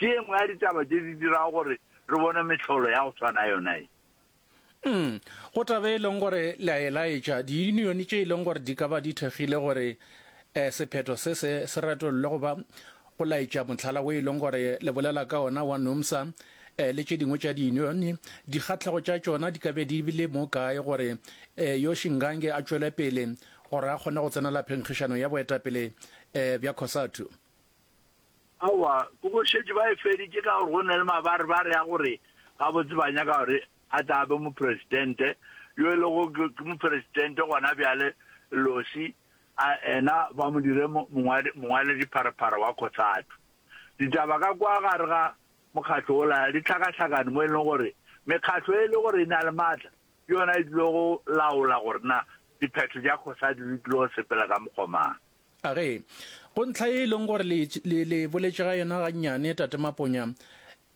Ke ye nngwe ya ditaba tše di dirago gore re bone mehlolo ya go swana yona ye. Umm, go taba e leng gore le a e laetša, diyunione tše e leng gore di ka ba di thekgile gore um sephetho se se se retollwe goba go laetša mohlala wo e leng gore le bolela ka ona wa NUMSA um le tše dingwe tša diyunione, dikgahlego tša tšona di ka be di bile mo kae gore um yo Shingange a tšwele pele gore a kgone go tsenela phenkgišano ya boetapele um bja COSATU? Aowa, ke go šetše ba e feditše ka gore go na le mabarebare a gore gabotse ba nyaka gore a tla be mopresidente, yo e lego ke mopresidente gona bjale, Losi, a ena ba mo dire mongwaledipharephare wa COSATU. Ditaba ka kwa gare ga mokgatlo wola di hlakahlakane mo e leng gore mekgatlo e le gore e na le maatla ke yona e tlile go laola gore na diphetho tša COSATU di tlile go sepela ka mokgwa mang. A ge, go ntlha ye e leng gore le, le, le boletše ga yona gannyane, Tate Maponya,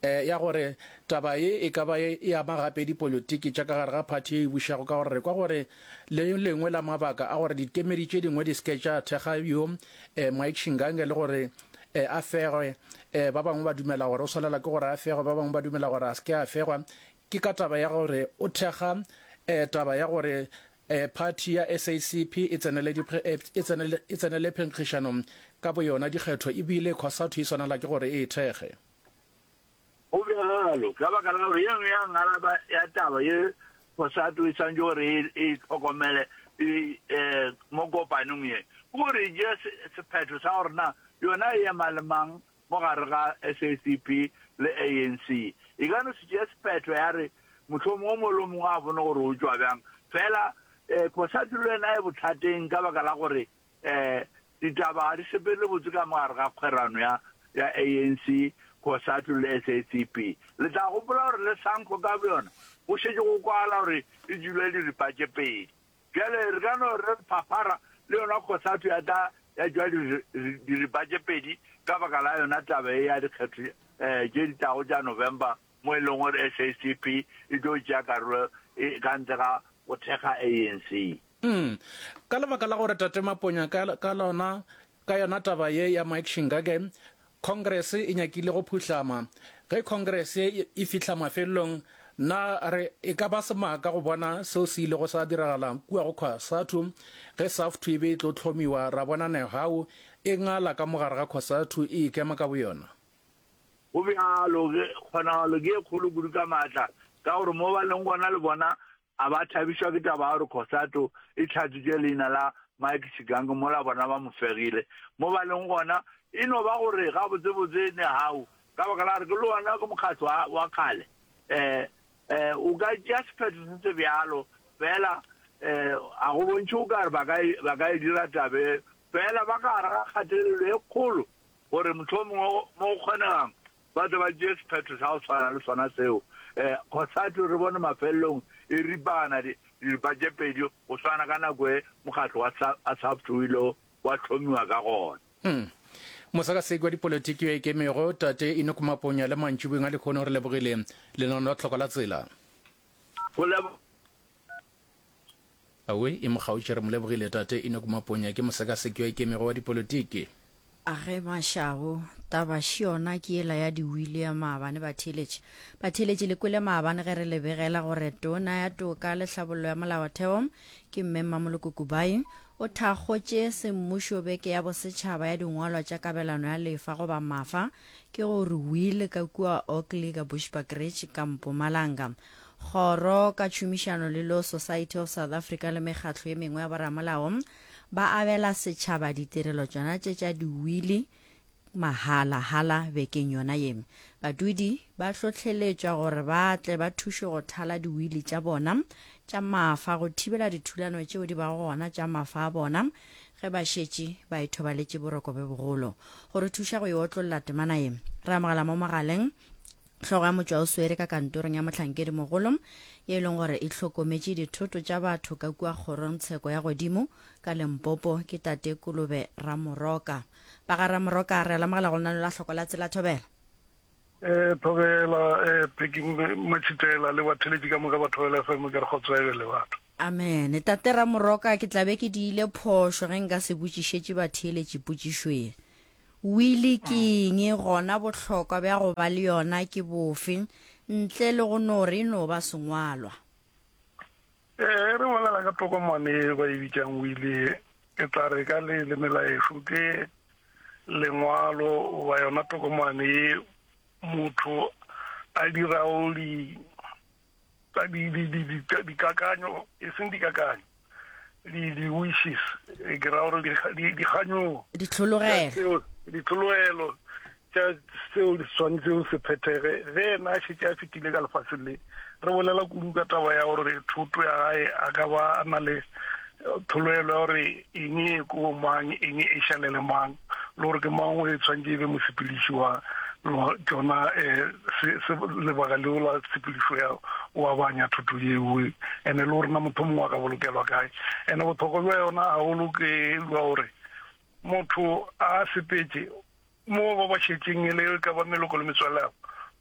eh, ya gore taba ye e ka ba e ama gape dipolitiki tša ka gare ga phathi ye e bušago, ka gore re kwa gore le lengwe la mabaka a gore dikemedi tše dingwe di se ke tša thekga yo, eh, Mike Shingange le gore, eh, a fegwe, eh, ba bangwe ba dumela gore o swanela ke gore a fegwe, ba bangwe ba dumela gore a se ke a fegwa, ke ka taba ya gore o thekga, eh, taba ya gore Phathi ya SACP e tsenele e tsenele e tsenele phenkgišano ka boyona dikgetho ebile Cosatu e swanela ke gore e e thekge. Go bjalo ka baka la gore ye nngwe ya ngalaba ya taba ye Cosatu e swanetše gore e e hlokomele e mo kopanong ye ke gore e tšee sephetho sa gore na yona e ema le mang mo gare ga SACP le ANC. E ka no se tšee sephetho ya re mohlomongwe o mongwe le o mongwe a bone gore o tšwa bjang. Fela Cosatu le yena e bothateng ka baka la gore ditaba ga di sepele botse ka mo gare ga kgwerano ya ya ANC, Cosatu le SACP. Le tla gopola gore le SANCO ka boyona go šetše go kwagala gore e tšwile diripa tše pedi. Bjale re ka no re phaphara le yona Cosatu ya tla ya tšwa diripa tše pedi ka baka la yona taba ye ya dikgetho tše di tlago tša November mo e leng gore SACP e tlo tšea karolo ka ntle ga go thekga ANC. Umm. Ka lebaka la gore Tate Maponya ka, ka lona, ka yona taba ye ya Mike Shingage, Congress e nyakile go phuhlama. Ge Congress ye e fihla mafelelong, na re e ka ba semaka go bona seo se ilego sa diragala kua go Cosatu ge SAFTU e be e tlo hlomiwa, ra bona Nehawu e ngala ka mo gare ga Cosatu e ikema ka boyona? Go bjalo, kgonagalo ke e kgolo kudu ka maatla, ka gore mo ba leng gona le bona A ba thabišwa ke taba ya gore Cosatu e hlatswitše leina la Mike Shigange mola bona ba mo fegile mo ba leng gona? E no ba gore gabotsebotse Nehau, ka baka la gore ke le wona ke mokgatlo wa, wa kgale, eh, eh, o ka tšea sephetho se se bjalo, fela eh, a go bontšhe o ka re ba ka, ba ka e dira taba e, fela ba ka gare ga kgatelelo e kgolo gore mohlomongwe mo go kgonegang ba tle ba tšee sephetho sa go tshwana le sona seo. Um Cosatu re bone mafelelong e ripana diripa tše pedi go swana ka nako e mokgatlo wa SAFTU o ilego wa hlomiwa ka gona. Hmm. Mosekaseki wa dipolotiki yo a ikemego, Tate Enoch Maponya le mantšiboeng a lehono re lebogile lenaneo la Tlhoko la Tsela. Go leboga. Awe, e mo kgaotše re mo lebogile Tate Enoch Maponya ke mosekaseki yo a ikemego wa dipolotiki. Age Mashabo, taba še yona ke yela ya diwili ya maabane batheeletši. Batheeletši le kwele maabane ge re le begela gore Tona ya Toka le Hlabollo ya Molaotheo ke Mme Mmamoloko Kubayi o thakgotše semmušo beke ya bosetšhaba ya dingwalwa tša kabelano ya lefa goba mafa ke gore will ka kua Oakley ka Bushbuckridge ka Mpumalanga. Kgoro ka tšhomišano le Law Society of South Africa le mekgatlo ye mengwe ya boramolao ba abela setšhaba ditirelo tšona tše tša diwili mahala-hala bekeng yona ye. Badudi ba hlohleletšwa gore ba tle ba thušwe go thala diwili tša bona tša mafa go thibela dithulano tšeo di bago gona tša mafa a bona ge ba šetše ba ithobaletše boroko bjo bogolo. Go re thuša go e otlolla temana ye, re amogela mo mogaleng Hlogo ya motšwaoswere ka kantorong ya mohlankedimogolo ye e leng gore e hlokometše dithoto tša batho ka kua kgorongtsheko ya godimo ka Limpopo ke Tate Kolobe Ramoroka. Ba ga Ramoroka re a lemogela go lenaneo la Hloko la Tsela Thobela. Eh, Thobela, eh, Peggy Matšhitela le batheletši ka moka ba Thobela FM ke re kgotso e be le batho. Amen. Tate Ramoroka, ke tla be ke diile phošo ge nka se botšišetše batheeletši potšišo ye. Wili ke eng, gona bohlokwa bja go ba le yona ke bofe, ntle le go no re e no ba sengwalwa? Ee, ge re bolela ka tokomane ye ba e bitšang wili, ke tla re ka leleme la ešo ke lengwalo goba yona tokomane ye motho a dirago di, di, di, di, di, dikakanyo, e seng dikakanyo, di, di wishes, e ke ra gore di, di, dikganyogo. Ditlhologelo. Ditlhologelo tša seo di swanetšego se phethege ge yena a šetše a fetile ka lefaseng le. Re bolela kudu ka taba ya gore thoto ya gae a ka ba a na le tlhologelo ya gore eng e ko mang, eng e šalele mang, le gore ke mang o e tshwanetše e be mosepediši wa tšona um lebaka leo la tshepedišo ya o abanya thoto yeo, ene le gore na motho mongwe a ka bolokelwa kae. Ene bohlokwa bja yona gagolo ke bja gore motho a sepetše Mo ba ba šetšeng e le ka ba meloko le metswalle ya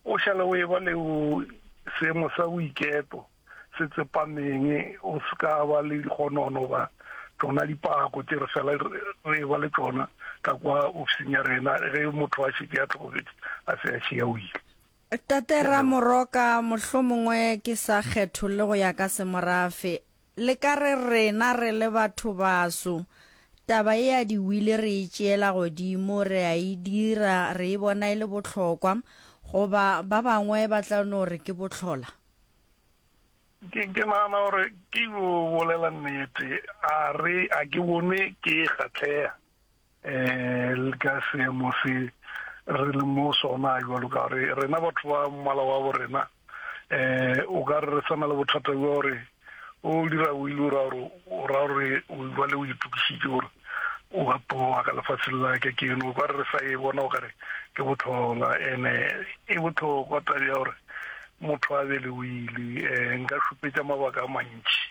o šale o eba le seemo sa boiketo se tsepameng, o se ka ba le dikgonono ba tšona dipako tše re fela re eba le tšona ka kwa ofising ya rena ge motho a šetše a hlokofetše a se a šia o ile. Tate Ramoroka, mohlomongwe ke sa kgetholle go ya ka semorafe, Le ka re rena re le bathobaso, taba ye ya diwili re e tšeela godimo, re a e dira, re e bona e le bohlokwa, goba ba bangwe ba tla no re ke bohlola? Ke, ke nagana gore ke yo bolela nnete, a re, a ke bone ke kgahlega um le ka seemo se re leng mo sona jalo ka gore rena batho ba mmala wa bo rena um o ka re re sana le bothata bja gore o dira o ile o ra gore o ra gore o jale o itokišitše gore o a tloga ka lefatsheng la ka ke eno o ka re re sa e bona o ka re ke botlhola ene e bohlokwa tabe ya gore motho a be le o ile um nka šupetša mabaka a mantši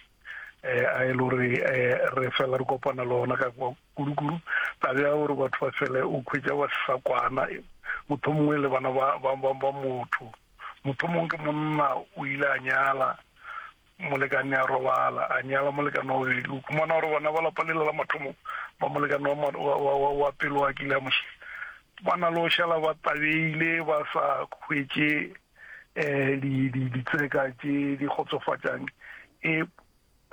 um a e le gore um re fela re kopana le ona ka kwa kudu-kudu taba ya gore batho ba fele o khwetša ba sa kwana motho mongwe le bana ba, ba, ba, ba motho motho mongwe ke monna o ile a nyala molekane a robala a nyala molekane wa bobedi o khumana gore bana ba lapa lela la mathomo ba molekane wa, wa, wa, wa, wa pele wa kile a mošia ba na le go šala ba tabeile ba sa hwetše um ditseka tše di kgotsofatšang e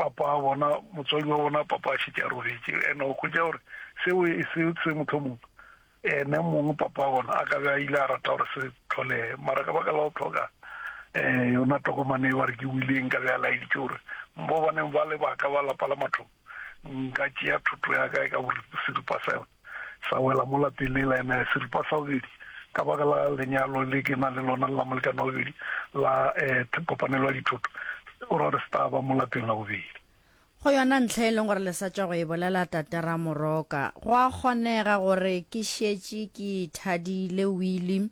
papa wa bona, motswadi wa bona papa a šetše a robetše, ene o hwetša gore seo e se se mohlomong ene mong papa wa bona a ka be a ile a rata gore se tlholege, mara ka baka la go hloka um yona tokomane e ba re ke wileng ka be a laeditše gore mo baneng ba le baka ba lapa la mathomo nka tšea thoto ya ka e ka seripa sa yona sa wela mo lapeng le la ene seripa sa bobedi ka baka la lenyalo le ke na le lona la molekane wa bobedi la um kopanelo ya dithoto o ra gore se tla ba mo lapeng la bobedi. Go yona ntlha e leng gore le sa tšwa go e bolela Tate Ramoroka, go a kgonega gore ke šetše ke ithadile wili,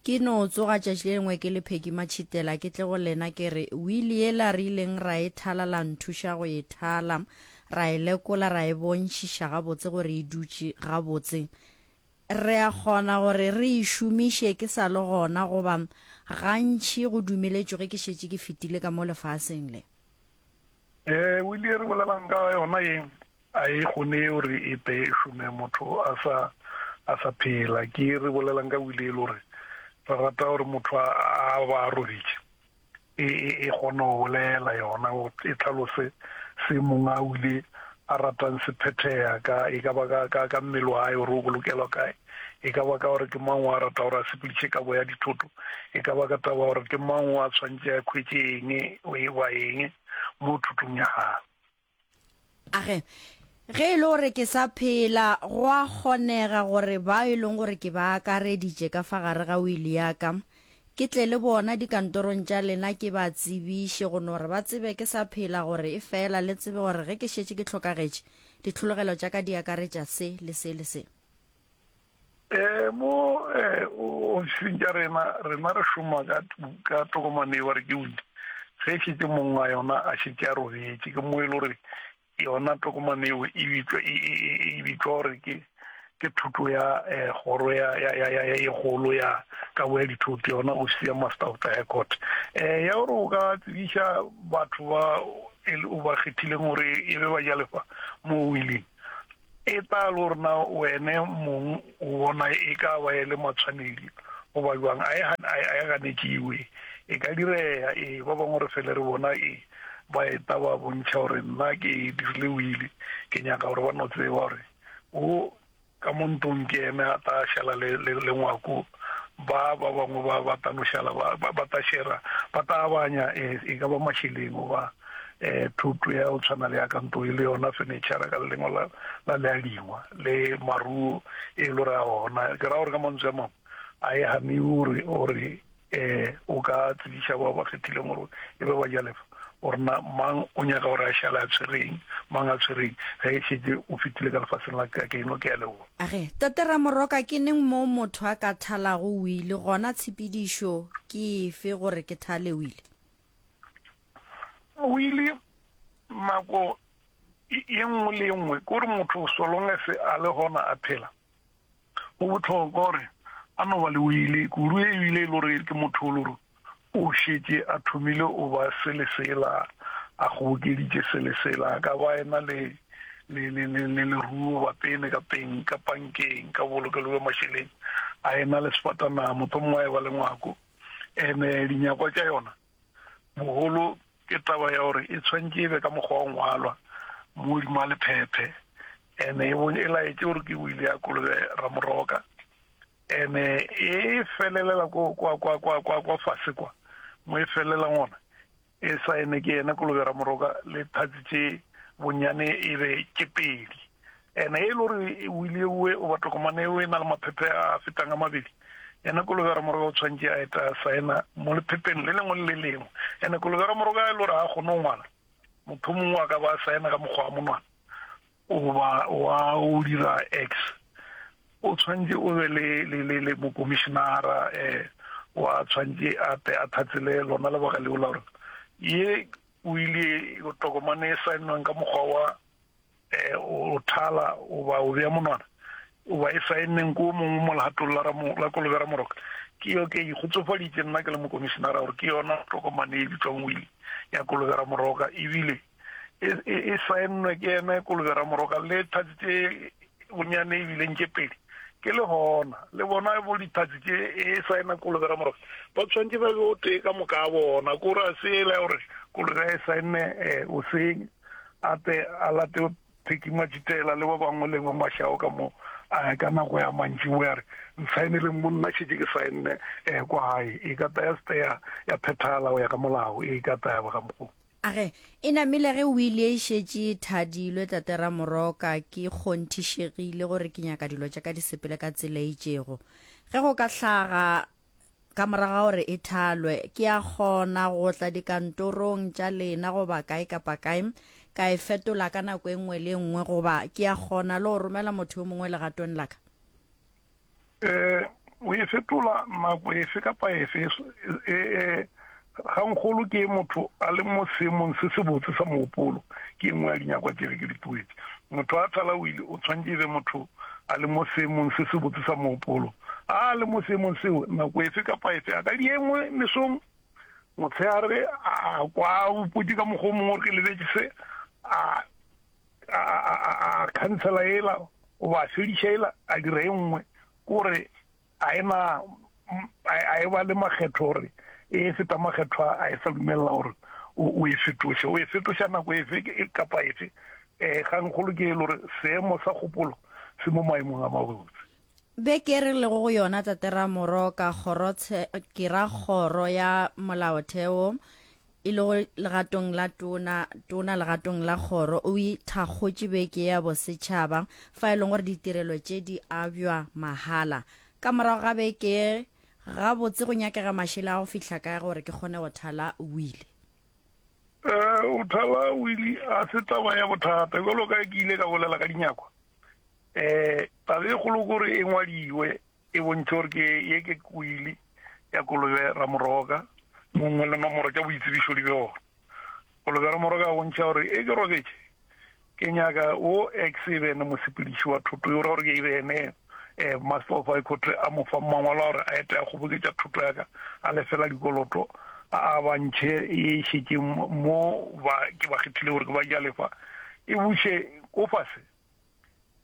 ke no tsoga tšatši le lengwe ke le Peggy Matšhitela ke tle go lena ke re wili yela re ileng ra e thala la nthuša go e thala, ra e lekola ra e bontšhiša gabotse gore e dutše gabotse. Re a kgona gore re e šomiše ke sa le gona goba gantši go dumeletšwe ge ke šetše ke fetile ka mo lefaseng le. Ee, wili e re bolelang ka yona ye a e kgone gore e tle e šome motho a sa a sa phela. Ke e re bolelang ka wili e le gore re rata gore motho a a ba a robetše e e e kgone go bolela yona e tlhalose se mong a wile a ratang se phethega ka e ka ba ka ka ka mmele wa hae gore o bolokelwa kae e ka ba ka gore ke mang wa rata gore a sepediše kabo ya dithoto e ka ba ka taba gore ke mang wa tshwanetse a khwetše eng o e ba eng mo thotong ya gagwe. Age, ge e le gore ke sa phela, go a kgonega gore bao e leng gore ke ba akareditše ka fa gare ga wili ya ka, ke tle le bona dikantorong tša lena ke ba tsebiše go no re ba tsebe ke sa phela gore efela le tsebe gore ge ke šetše ke hlokagetše, ditlhologelo tša ka di akaretša se le se le se. Eh, mo eh, ofising tša rena, rena re šoma ka, ka tokomane e ba re ke wili. Ge e šetše mong wa yona a šetše a robetše, ke mo e le gore yona tokomane eo e bitšwa, e, e, e, e bitšwa gore ke, ke thoto ya eh, kgoro ya, ya, ya, ya, ya e kgolo ya kabo ya dithoto, yona ofisi ya Master of the High Court. Eh, ya gore o ka tsebiša batho ba e o ba kgethileng gore e be bajalefa mo willing. E tla le gore na wene mong o bona e ka ba e le matshwanedi goba bjang, a e, a e ganetšiwe. E ka direya, ee, ba bangwe re fele re bona e ba eta ba bontšha gore nna ke dirile wili, ke nyaka gore ba no tseba gore o Ka mo ntlong ke eme a ta šala le, le, le ngwako, ba, ba bangwe ba, ba ta no šala ba, ba, ba ta šera, ba ta abanya, e, e ka ba mašeleng goba, e, thoto ya go tshwana le ya ka ntlo e le yona fenitšhara ka le lengwe la, la leadingwa, le maruo e le gore a gona. Ke ra gore ka mantswe a mangwe, a e ganiwe gore, gore E, o ka tsebiša bao ba kgethileng gore e be bajalefa gore na mang o nyaka gore a šale a tshwereng, mang a tshwereng ge e šetše o fetile ka lefaseng la ka keno. Ke a leboga. Age, Tate Ramoroka, ke neng moo motho a ka thalago wili, gona tshepedišo ke efe gore ke thale wili? Wili, nako ye nngwe le ye nngwe, ke gore motho so long as a le gona a phela, Go bohlokwa gore a no ba le wili, kudu e bile e le gore ke motho o le gore o šetše a thomile o ba se le sela, a kgobokeditše se le sela, a ka ba ena le le le le le leruo ba pene ka peng ka pankeng ka bolokelo bja mašeleng, a ena le sefatanaga, mohlomongwe a e ba le ngwako. Ene dinyakwa tša yona Bogolo ke taba ya gore e tshwanetše e be ka mokgwa wa ngwalwa mo godimo ga lephephe, ene e e laetše gore ke wili ya Kolobe Ramoroka, ene e felelela ko kwa kwa kwa kwa kwa fase kwa mo e felelang gona e saene ke yena Kolobe Ramoroka le thatsi tše bonyane e be tše pedi. Ene e le gore wili ewe oba tokomane ewe e na le maphephe a fetang a mabedi, ene Kolobe Ramoroka o tshwanetše a eta a saena mo lephepeng le lengwe le le lengwe. Ene Kolobe Ramoroka e le gore ga a kgone go ngwala, motho mongwe a ka ba a saena ka mokgwa wa monwana goba wa o dira X. O tshwanetše o be le, le, le, le mokomišenara eh, wa tshwanetše a tle a thatsele lona lebaka leo la gore ye wili tokomane e saennweng ka mokgwa wa eh, o thala oba o bea monwana oba e saenneng ko mongwe mo legatong la, la Kolobe Ramoroka ke yo ke ikgotsofaditše nna ke le mokomišenara gore ke yona tokomane e bitswang wili ya Kolobe Ramoroka ebile e, e, e saennwe ke ene Kolobe Ramoroka le thatsi tše bonyane ebileng tše pedi ke le gona le bona bo dithatsi tše e saena Kolobe Ramoroka ba tshwanetse ba be o tee ka moka a bona kore a se ela gore Kolobe e saenne eh, o seng a tle a late Pheki Matšitela le ba bangwe le ba Mashao ka mo a ka nako ya mantšiboa ya re, Nsaeneleng mo nna šetše ke saenne eh, kwa gae. E ka tla ya se ya, ya phethagala go ya ka molao, e ka tla ya ba ka mokgwa. A re, E namile ge wili e šetše e thadilwe, Tate Ramoroka, ke kgonthišegile gore ke nyaka dilo tša ka di sepele ka tsela e itšego. Ge go ka hlaga Ka morago ga gore e thalwe, ke a kgona go tla dikantorong tša lena goba kae kapa kae, ka e fetola ka nako e nngwe le e nngwe, goba ke a kgona le go romela motho yo mongwe legatong la ka? Eh, o e fetola nako efe kapa efe. E, e, gangkgolo ke motho a le mo seemong se sebotse sa mogopolo, ke e nngwe ya dinyakwa tše ge ke di tloetše. Motho a thala wili o tshwanetše e be motho a le mo seemong se sebotse sa mogopolo. A le mo seemong seo, nako efe kapa efe, a ka di e nngwe mesong, motshehare, a kwa a upotše ka mokgwa o mongwe gore ke lebetše se, a, a, a, a, a khansela ela, goba a fediša ela, a dira e nngwe. Ke gore A e na, a e ba le makgetho gore e feta makgetho a e sa dumelela gore o e fetoše. O e fetoša nako efe kapa efe. Um kgangkgolo ke e le gore seemo sa kgopolo se mo maemong a mabotse. Beke e re lego go yona, Tate Ramoroka, kgoro, ke ra kgoro ya molaotheo, e lego legatong la tona, tona legatong la kgoro, o ithakgotše beke ya bosetšhaba fa e leng gore ditirelo tše di abjwa mahala. Ka morago ga beke ye, gabotse go nyakega mašele a go fihla kae gore ke kgone go thala wili? Go thala wili ga se taba ya bothata. Bjalo ka ke ile ka bolela ka dinyakwa, um taba e kgolo ke gore e ngwadiwe. E bontšhe gore ke ye ke kwili ya Kolobe Ramoroka, mongwe le nomoro tša boitsebišo di be gona. Kolobe Ramoroka a bontšha gore e ke robetše, ke nyaka wo ex e be ene mosepediši wa thoto yo, ra gore ke e be ene eh, Master of High Court a mo fa mangwalo a gore a ete a kgoboketša thoto ya ka, a lefela dikoloto, a a ba ntšhe e šetšeng mo ba ke ba kgethile gore ke ba jalefa, e buše ko fase.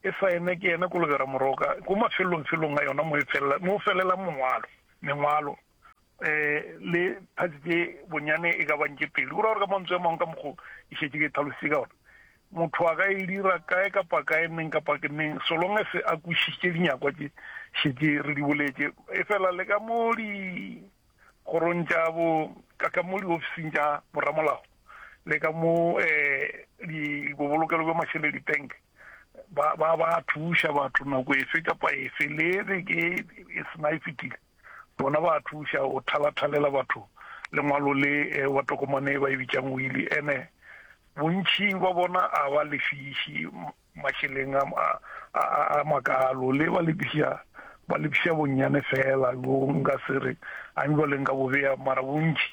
E saene ke yena Kolobera Moroka ko mafelelongfelong a yona mo e felela, mo felelang mongwalo, mengwalo. Eh, le parts tše bonyane e ka bang tše pedi. Go ra gore ka mantswe a mangwe ka mokgo e šetše ke tlhalositše ka gona, motho a ka e dira kae kapa kae, neng kapa ke neng, so long as a kwešišitše dinyakwa tše šetše re di boletše. Efela le ka mo dikgorong tša bo, ka ka mo diofising tša boramolao, le ka mo eh, di bobolokelo bja mašeleng, di-bank, ba ba ba thuša batho nako efe kapa efe, le re ke e sena e fetile. Bona ba thuša go thalathalela batho lengwalo le wa tokomane e ba e bitšang wili. Ene bontši ba bona a ba lefiši mašeleng a, a, a, a makalo, le ba lefiša, ba lefiša bonnyane fela, bo nka se re a jwale nka bo bea, mara bontši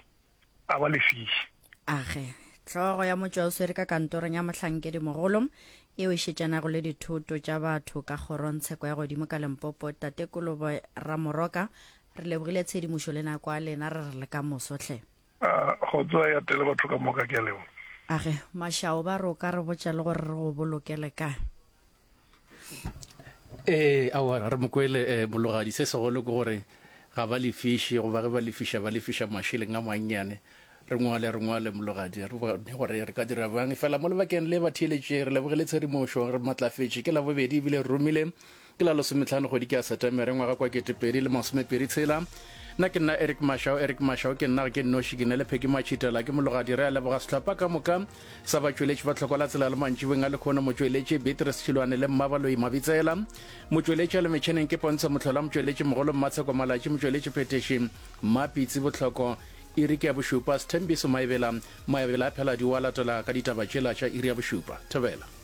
a ba lefiše. Age, hlogo ya motšwaoswere ka kantorong ya mohlankedimogolo yeo e šetšanago le dithoto tša batho ka kgorongtsheko ya godimo ka Limpopo, Tate Kolobo Ramoroka, re lebogile tshedimošo le nako a lena, re re le ka moso hle. A, kgotso a e atele batho ka moka, ke a leboga. Age, Mashao ba re o ka re botša le gore re go bolokele kae? Ee, aowa, re mo kwele eh, Mologadi. Se segolo ke gore ga ba lefiše, goba ge ba lefiša, ba lefiša mašeleng a mannyane. Re ngwale, re ngwale, Mologadi, re bone gore re ka dira bjang. Efela mo lebakeng le, batheeletši, re lebogile tshedimošo, re matlafetše. Ke Labobedi ebile re romile, ke la lesometlhano kgwedi ke ya Setemere ngwaga kwa 2023. Nna ke nna Eric Mashau, Eric Mashau ke nna, ga ke nnoši, ke ne le Peggy Matšhitela, ke Mologadi. Re a leboga sehlopha ka moka sa batšweletši ba tlhoko la tsela le mantšiboeng a lekhono, motšweletši Beatrice Tšhilwane le Mmabaloi Mabitsela, motšweletši a le metšheneng ke Pontsho Mohlola, motšweletši mogolo Mmatsheko Malatši, motšweletši phethiši Mmapitsi Bohloko. Iri ke ya bošupa, Sthembiso Maebela, Maebela a Pheladi o a latela ka ditaba tšela tša iri ya bošupa. Thobela.